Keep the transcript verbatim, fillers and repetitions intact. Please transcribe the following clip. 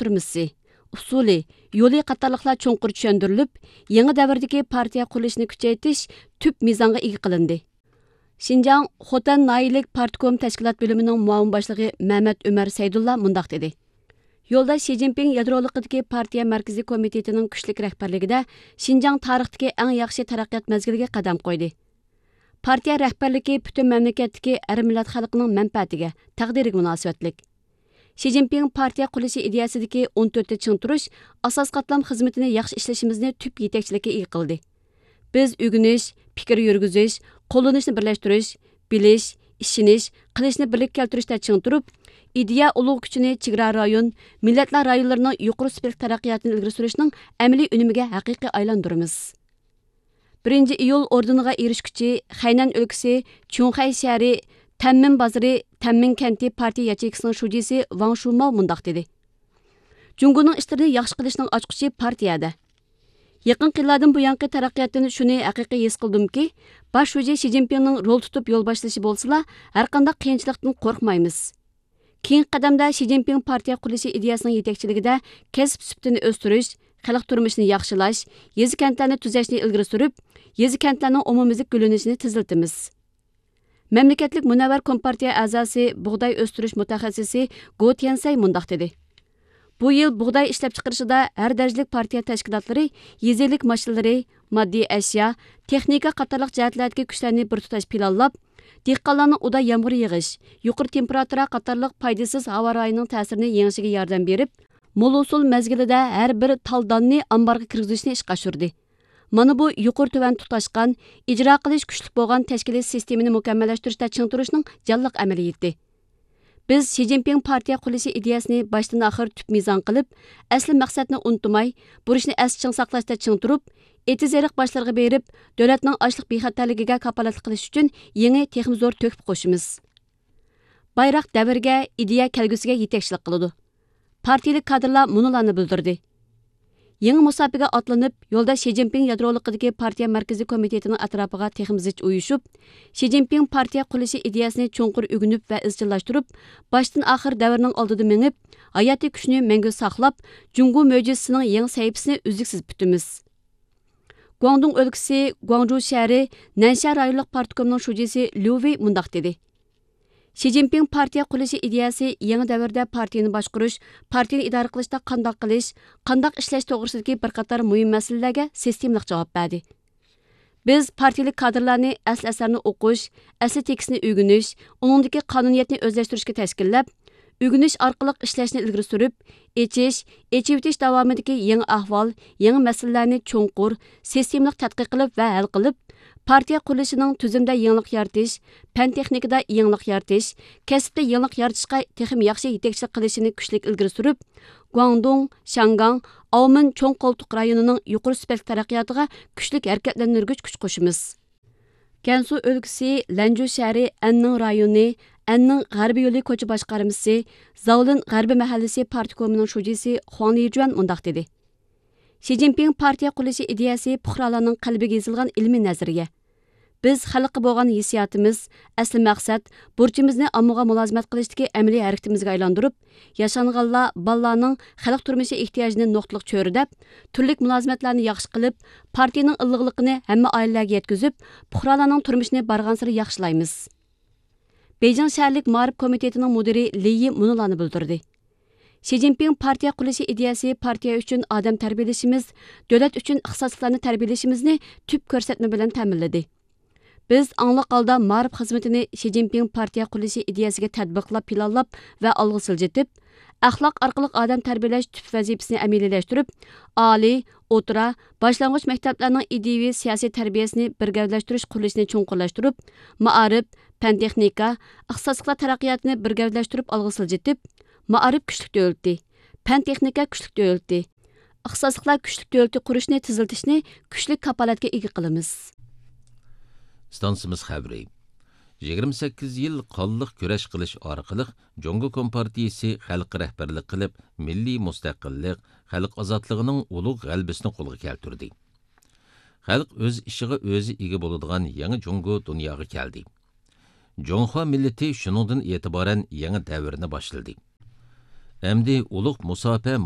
تۈرمىسى، ئۇسۇلى، يولى قاتارلىقلار چوڭقۇر چۈشەندۈرۈلۈپ، يېڭى دەۋردىكى پارتىيە قۇرۇلۇشىنى كۈچەيتىش تۈپ مىزانغا ئىگە قىلىندى. شىنجاڭ خوتەن ناھىيەلىك پارتكوم تەشكىلات بۆلۈمىنىڭ مۇئاۋىن باشلىقى مەمەت ئۆمەر سەيدۇللا مۇنداق دېدى: يولداش شى جىنپىڭ يادرولۇقىدىكى پارتىيە مەركىزىي كومىتېتىنىڭ كۈچلۈك رەھبەرلىكىدە شىنجاڭ تارىختىكى ئەڭ ياخشى تەرەققىيات مەزگىلىگە قەدەم قويدى. پارتىيە رەھبەرلىكى پۈتۈن مەملىكەتتىكى ھەر مىللەت خەلقىنىڭ مەنپەئەتىگە، تەقدىرىگە مۇناسىۋەتلىك. شى جىنپىڭ پارتىيە قۇرۇلۇشى ئىدىيەسىدىكى ئون تۆتتە چىڭ تۇرۇش ئاساسىي قاتلام خىزمىتىنى ياخشى ئىشلىشىمىزنى تۈپ يېتەكچىلىككە ئىگە قىلدى. بىز ئۆگىنىش، پىكىر يۈرگۈزۈش، قوللىنىشنى بىرلەشتۈرۈش، بىلىش، ئىشىنىش، قىلىشنى بىرلىككە كەلتۈرۈشتە چىڭ تۇرۇپ، ئىدىيە ئۇلۇغ كۈچىنى چېگرا رايون، مىللەتلەر رايونلىرىنىڭ يۇقىرى سۈپەتلىك تەرەققىياتىنى ئىلگىرى سۈرۈشنىڭ ئەمەلىي ئۈنۈمىگە ھەقىقىي ئايلاندۇرىمىز. بىرىنچى ئىيۇل ئوردېنىغا ئېرىشكۈچى خەينەن ئۆلكىسى چۈڭخەي شەھىرى تەنمىن بازىرى تەنمىن كەنتى پارتىيە ياچېيكىسىنىڭ شۇجىسى ۋاڭ شۇماۋ مۇنداق دېدى: جۇڭگونىڭ ئىشلىرىنى ياخشى قىلىشنىڭ ئاچقۇچى پارتىيەدە. يېقىنقى يىللاردىن بۇيانقى تەرەققىياتتىن شۇنى ھەقىقىي ھېس قىلدىمكى، باش شۇجى شى جىنپىڭنىڭ رول تۇتۇپ يول باشلىشى بولسىلا، ھەرقانداق قىيىنچىلىقتىن قورقمايمىز. كېيىنكى قەدەمدە شى جىنپىڭ پارتىيە قۇرۇلۇشى ئىدىيەسىنىڭ يېتەكچىلىكىدە كەسىپ سۈپىتىنى ئۆستۈرۈش، خەلق تۇرمۇشىنى ياخشىلاش، يېزا كەنتلەرنى تۈزەشنى ئىلگىرى سۈرۈپ، يېزا كەنتلەرنىڭ ئومۇميۈزلۈك گۈللىنىشىنى تېزلىتىمىز. مەملىكەتلىك مۇنەۋۋەر كومپارتىيە ئەزاسى، بۇغداي ئۆستۈرۈش مۇتەخەسسىسى گو تيەنسەي مۇنداق دېدى: بۇ يىل بۇغداي ئىشلەپچىقىرىشىدا ھەر دەرىجىلىك پارتىيە تەشكىلاتلىرى يېزا ئىگىلىك ماشىنىلىرى، ماددىي ئەشيا، تېخنىكا قاتارلىق جەھەتلەردىكى كۈچلەرنى بىر تۇتاش پىلانلاپ، دېھقانلارنىڭ ئۇدا يامغۇر يېغىش، يۇقىرى تېمپېراتۇرا قاتارلىق پايدىسىز ھاۋا رايىنىڭ تەسىرىنى يېڭىشىگە ياردەم بېرىپ، مول ھوسۇل مەزگىلىدە ھەر بىر تال داننى ئامبارغا كىرگۈزۈشنى ئىشقا ئاشۇردى. مانا بۇ يۇقىرى تۆۋەن تۇتاشقان، ئىجرا قىلىش كۈچلۈك بولغان تەشكىلىي سىستېمىنى مۇكەممەللەشتۈرۈشتە چىڭ تۇرۇشنىڭ جانلىق ئەمەلىيىتى. بىز شى جىنپىڭ پارتىيە قۇرۇلۇشى ئىدىيەسىنى باشتىن ئاخىر تۈپ مىزان قىلىپ، ئەسلى مەقسەتنى ئۇنتۇماي، بۇرچنى ئەستە چىڭ ساقلاشتا چىڭ تۇرۇپ، ئېتىز-ئېرىق باشلىرىغا بېرىپ، دۆلەتنىڭ ئاشلىق بىخەتەرلىكىگە كاپالەتلىك قىلىش ئۈچۈن يېڭى، تېخىمۇ زور تۆھپە قوشىمىز. بايراق دەۋرگە، ئىدىيە كەلگۈسىگە يېتەكچىلىك قىلىدۇ. پارتىيىلىك كادىرلار مۇنۇلارنى بىلدۈردى: يېڭى مۇساپىگە ئاتلىنىپ، يولداش شى جىنپىڭ يادرولۇقىدىكى پارتىيە مەركىزىي كومىتېتىنىڭ ئەتراپىغا تېخىمۇ زىچ ئۇيۇشۇپ، شى جىنپىڭ پارتىيە قۇرۇلۇشى ئىدىيەسىنى چوڭقۇر ئۆگىنىپ ۋە ئىزچىللاشتۇرۇپ، باشتىن ئاخىر دەۋرنىڭ ئالدىدا مېڭىپ، ھاياتىي كۈچىنى مەڭگۈ ساقلاپ، جۇڭگو مۆجىزىسىنىڭ يېڭى سەھىپىسىنى ئۈزلۈكسىز پۈتىمىز. گۇاڭدۇڭ ئۆلكىسى گۇاڭجۇ شەھىرى نەنشيا رايونلۇق پارتكومنىڭ شۇجىسى ليۇ ۋېي مۇنداق دېدى: شى جىنپىڭ پارتىيە قۇرۇلۇشى ئىدىيەسى يېڭى دەۋردە پارتىيىنى باشقۇرۇش، پارتىيىنى ئىدارە قىلىشتا قانداق قىلىش، قانداق ئىشلەش توغرىسىدىكى بىر قاتار مۇھىم مەسىلىلەرگە سىستېمىلىق جاۋاب بەردى. بىز پارتىيىلىك كادىرلارنى ئەسلى ئەسەرنى ئوقۇش، ئەسلى تېكىستنى ئۆگىنىش، ئۇنىڭدىكى قانۇنىيەتنى ئۆزلەشتۈرۈشكە تەشكىللەپ، ئۆگىنىش ئارقىلىق ئىشلەشنى ئىلگىرى سۈرۈپ، ئېچىش، ئېچىۋېتىش داۋامىدىكى يېڭى ئەھۋال، يېڭى مەسىلىلەرنى چوڭقۇر، سىستېمىلىق تەتقىق قىلىپ ۋە ھەل قىلىپ، پارتىيە قۇرۇلۇشىنىڭ تۈزۈمدە يېڭىلىق يارىتىش، پەن تېخنىكىدا يېڭىلىق يارىتىش، كەسىپتە يېڭىلىق يارىتىشقا تېخىمۇ ياخشى يېتەكچىلىك قىلىشىنى كۈچلۈك ئىلگىرى سۈرۈپ، گۇاڭدۇڭ، شياڭگاڭ، ئاۋمېن چوڭ قولتۇق رايونىنىڭ يۇقىرى سۈپەتلىك تەرەققىياتىغا كۈچلۈك ھەرىكەتلەندۈرگۈچ كۈچ قوشىمىز. گەنسۇ ئۆلكىسى لەنجۇ شەھىرى ئەننىڭ رايونى، ئەننىڭ غەربىي يولى كوچا باشقارمىسى، زاۋلىن غەربىي مەھەللىسى پارتكومىنىڭ شۇجىسى خۇاڭ لىجۈەن مۇنداق دېدى: شى جىنپىڭ پارتىيە قۇرۇلۇشى ئىدىيەسى پۇقرالارنىڭ قەلبىگە يېزىلغان ئىلمىي نەزەرىيە. بىز خەلققە بولغان ھېسسىياتىمىز، ئەسلى مەقسەت، بۇرچىمىزنى ئاممىغا مۇلازىمەت قىلىشتىكى ئەمەلىي ھەرىكىتىمىزگە ئايلاندۇرۇپ، ياشانغانلار، بالىلارنىڭ خەلق تۇرمۇشى ئېھتىياجىنى نۇقتىلىق چۆرىدەپ، تۈرلۈك مۇلازىمەتلەرنى ياخشى قىلىپ، پارتىيىنىڭ ئىللىقلىقىنى ھەممە ئائىلىلەرگە يەتكۈزۈپ، پۇقرالارنىڭ تۇرمۇشىنى بارغانسېرى ياخشىلايمىز. بېيجىڭ شەھەرلىك مائارىپ كومىتېتىنىڭ مۇدىرى لى يى مۇنۇلارنى بىلدۈردى: شى جىنپىڭ پارتىيە قۇرۇلۇشى ئىدىيەسى پارتىيە ئۈچۈن ئادەم تەربىيەلىشىمىز، دۆلەت ئۈچۈن ئىختىساسلىقلارنى تەربىيەلىشىمىزنى تۈپ كۆرسەتمە بىلەن تەمىنلىدى. بىز ئاڭلىق ھالدا مائارىپ خىزمىتىنى شى جىنپىڭ پارتىيە قۇرۇلۇشى ئىدىيەسىگە تەتبىقلاپ پىلانلاپ ۋە ئالغا سىلجىتىپ، ئەخلاق ئارقىلىق ئادەم تەربىيەلەش تۈپ ۋەزىپىسىنى ئەمەلىيلەشتۈرۈپ، ئالىي، ئوتتۇرا، باشلانغۇچ مەكتەپلەرنىڭ ئىدىيىۋى سىياسىي تەربىيەسىنى بىر گەۋدىلەشتۈرۈش قۇرۇلۇشىنى چوڭقۇرلاشتۇرۇپ، مائارىپ، پەن تېخنىكا، ئىختىساسلىقلار تەرەققىياتىنى بىر گەۋدىلەشتۈرۈپ ئالغا سىلجىتىپ، مائارىپ كۈچلۈك دۆلىتى، پەن تېخنىكا كۈچلۈك دۆلىتى، ئىختىساسلىقلار كۈچلۈك دۆلىتى قۇرۇشنى تېزلىتىشنى كۈچلۈك كاپالەتكە ئىگە قىلىمىز. ئىستانسىمىز خەۋىرى. يىگىرمە سەككىز يىل قانلىق كۈرەش قىلىش ئارقىلىق جۇڭگو كومپارتىيىسى خەلققە رەھبەرلىك قىلىپ، مىللىي مۇستەقىللىق، خەلق ئازادلىقىنىڭ ئۇلۇغ غەلىبىسىنى قولغا كەلتۈردى. خەلق ئۆز ئىشىغا ئۆزى ئىگە بولىدىغان يېڭى جۇڭگو دۇنياغا كەلدى. جۇڭخۇا مىللىتى شۇنىڭدىن ئېتىبارەن يېڭى دەۋرنى باشلىدى. ئەمدى ئۇلۇغ مۇساپە